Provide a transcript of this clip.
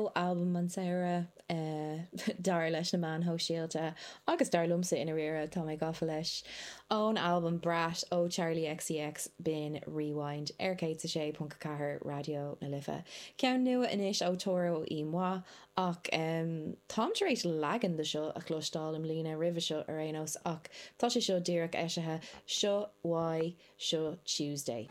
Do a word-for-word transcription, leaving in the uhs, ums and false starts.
ndóigh albam an tsamhraidh uh, dar leis na meáin shóisialta agus dar liomsa i ndáiríre tá mé gafa leis. Ón albam Brat ó Charli XCX b'in Rewind ar céad a sé ponc ceathair Raidió na Life. Ceann nua anois ó Toro y Moi ach um, táim tar éis leagan de seo a chloisteáil i mbliana roimhe seo ar aon nós ach tá sé seo díreach eisithe seo Why seo Tuesday.